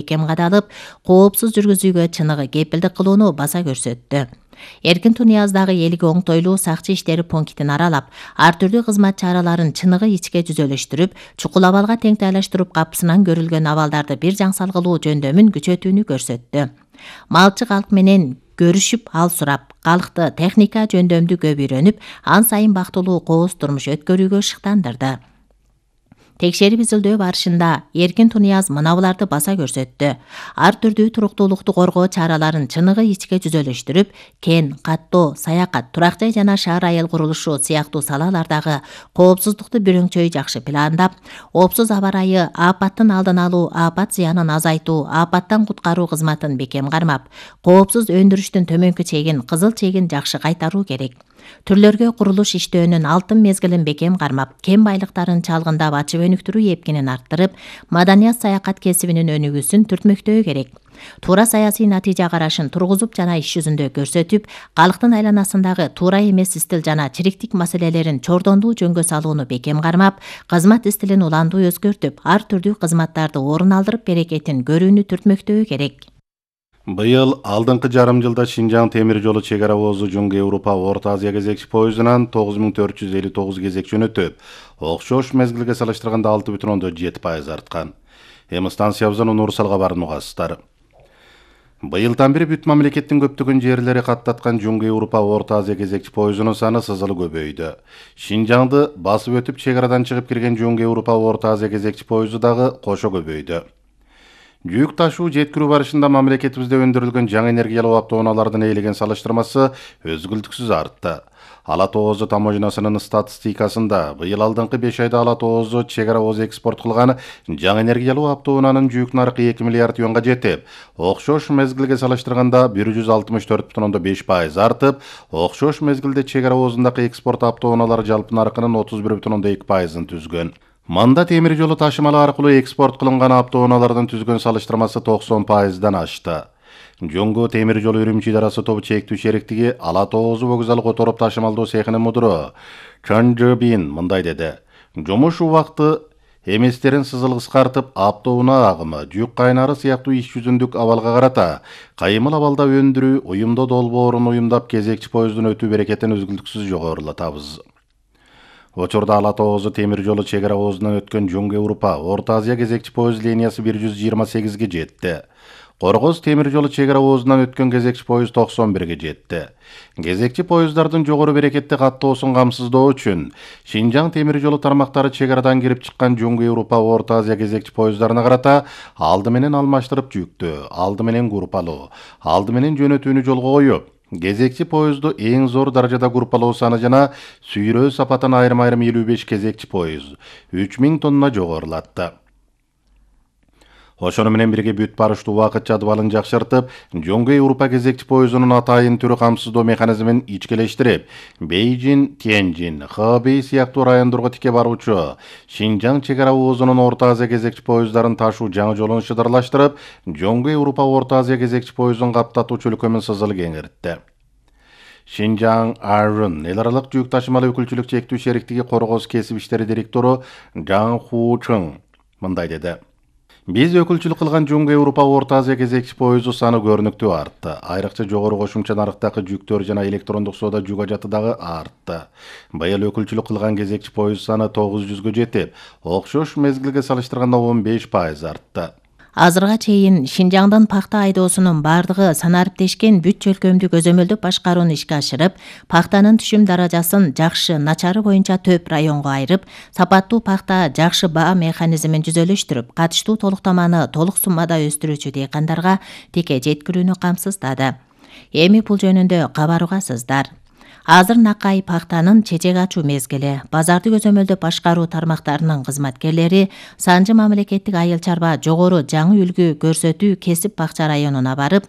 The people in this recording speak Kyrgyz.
бекем кадалып, коопсуз жүргүзүүгө чыныгы кепилдик кылууну баса көрсөттү. Эркин Тунияздагы элге оңтойлуу сакчы иштери пунктин аралап, ар түрдүү кызмат чараларын чыныгы ичке жүзөлөштүрүп, чукул абалга теңтайлаштырып капысынан көрүлгөн абалдарды бир жаң салгылуу жөндөмүн күчөтүүнү көрсөттү. Малчы калк менен көрүшүп ал сурап, калкты техника жөндөмдү көп үйрөнүп, ан сайын бактылуу кооз турмуш өткөрүүгө шыктандырды. Текшерип изилдөө барышында Эркин Тунияз мынабуларды баса көрсөттү. Ар түрдүү туруктуулукту коргоо чараларын чыныгы ичке жүзөлөштүрүп, кен, каттоо, саякат, турак жай жана шаар айыл курулушу сыяктуу салалардагы коопсуздукту бирөңчөй жакшы пландап, оопсуз аба ырайы, апаттын алдын алуу, апат зыянын азайтуу, апаттан куткаруу кызматын бекем кармап, коопсуз өндүрүштүн төмөнкү чегин, кызыл чегин жакшы кайтаруу керек. Түрлөргө курулуш иштөөнүн алтын мезгилин бекем кармап, кен байлыктарын чалгындап ачып өнүктүрүү эпкинин арттырып, маданият саякат кесибинин өнүгүүсүн түртмөктөө керек. Туура саясий натыйжа карашын тургузуп жана иш жүзүндө көрсөтүп, калктын айланасындагы туура эмес истил жана чириктик маселелерин чордондуу жөнгө салууну бекем кармап, кызмат истилин уландуу өзгөртүп, ар түрдүү кызматтарды орун алдырып берекетин көрүүнү түртмөктөө керек. Быйыл алдыңкы жарым жылда Шинжаң темир жолу чек ара оозу Жуңгу Европа Орто Азия кезекчи поездунан 9459 кезек жөнөтүп, окшош мезгилге салыштырганда 6,7% арткан. Эми станциябыздан Нур Салга барууну угасыздар. Быйылдан бери бүт мамлекеттин көптөгөн жерлери каттаткан Жуңгу Европа Орто Азия кезекчи поездунун саны сызылы көбөйдү. Шинжаңды басып өтүп чек арадан чыгып кирген Жуңгу Европа Орто Азия кезекчи поезду дагы кошо көбөйдү. Жүк ташуу жеткирүү барышында мамлекетибизде өндүрүлгөн жаңы энергиялуу автоунаалардын ээлеген салыштырмасы өзгүлтүксүз артты. Ала Тоозу таможнасынын статистикасында быйыл алдыңкы 5 айда Ала Тоозу чек ара ооз экспорт кылган жаңы энергиялуу автоунаанын жүк наркы 2 миллиард юанга жетип, окшош мезгилге салыштырганда 164,5% артып, окшош мезгилде чек ара оозундагы экспорт автоунаалары жалпы наркынын 31,2%ын түзгөн. Манда темир жолу ташымалы аркылуу экспорт кылынган автоунаалардын түзгөн салыштырмасы 90%дан ашты. Жуңгу темир жолу Үрүмчи идарасы тобу чектүү шериктиги Ала Тоозу вокзал которуп ташымалдоо цехинин мудуру Чон Жобин мындай деди. Жумуш убакыты эместерин сызыл кыскартып, автоунаа агымы, жүк кайнары сыяктуу иш жүзүндүк абалга карата кайымыл абалда өндүрүү, уюмдоо долбоорун уюмдап кезекчи поездун өтүү берекетин үзгүлтүксүз жогорулатабыз. Учурда Ала Тоозу темир жолу чек ара оозунан өткөн Жуңгу Европа Орто Азия кезекчи поезд линиясы 128ге жетти. Коргоз темир жолу чек ара оозунан өткөн кезекчи поезд 91ге жетти. Кезекчи поезддардын жогору берекетти каттоосун камсыздоо үчүн Шинжаң темир жолу тармактары чек арадан кирип чыккан Жуңгу Европа Орто Азия кезекчи поезддарына карата алды менен алмаштырып жүктөө, алды менен группалоо, алды менен жөнөтүүнү жолго коюп, кезекчи поезду эң зор даражада группалоо саны жана сүйрөө сапатын айрым-айрым 55 кезекчи поезд 3000 тонна жогорулатты. Ошону менен бирге бүт барыштуу убакыт жадыбалын жакшыртып, Жуңгу Европа кезекчи поездунун атайын түрү камсыздоо механизмин ичкелештирип, Бейжин, Тяньжин, Хэбэй сыяктуу райондорго тике баруучу Шинжаң чек ара оозунун Орто Азия кезекчи поезддарын ташуу жаңы жолун шыдырлаштырып, Жуңгу Европа Орто Азия кезекчи поездун каптатуучу өлкөмүн сызыл кеңиртти. Шинжаң Арун эл аралык жүк ташымалы өкүлчүлүк чектүү шериктиги Коргоз кесип иштери директору Жан Ху Чың мындай деди. Биз өкүлчүлүк кылган Жуңгу Европа Орто Азия кезекчи поезду саны көрүнүктүү артты. Айрыкча жогору кошумча нарыктагы жүктөр жана электрондук соода жүк ажаты дагы артты. Быйыл өкүлчүлүк кылган кезекчи поезд саны 900гө жетип, окшош мезгилге салыштырганда 15% артты. Азырга чейин Шинжаңдын пахта айдоосунун бардыгы санариптешкен бүт чөлкөмдү көзөмөлдөп башкарууну ишке ашырып, пахтанын түшүм даражасын жакшы, начары боюнча төп районго айырып, сапаттуу пахта жакшы баа механизмин жүзөлөштүрүп, катыштуу толуктаманы толук суммада өстүрүүчү дыйкандарга тике жеткирүүнү камсыздады. Эми бул жөнүндө кабар угасыздар. Азыр накай пахтанын чечек ачуу мезгили. Базарды көзөмөлдөп башкаруу тармактарынын кызматкерлери Санжы мамлекеттик айыл чарба жогору жаңы үлгү көрсөтүү кесип бакча районуна барып,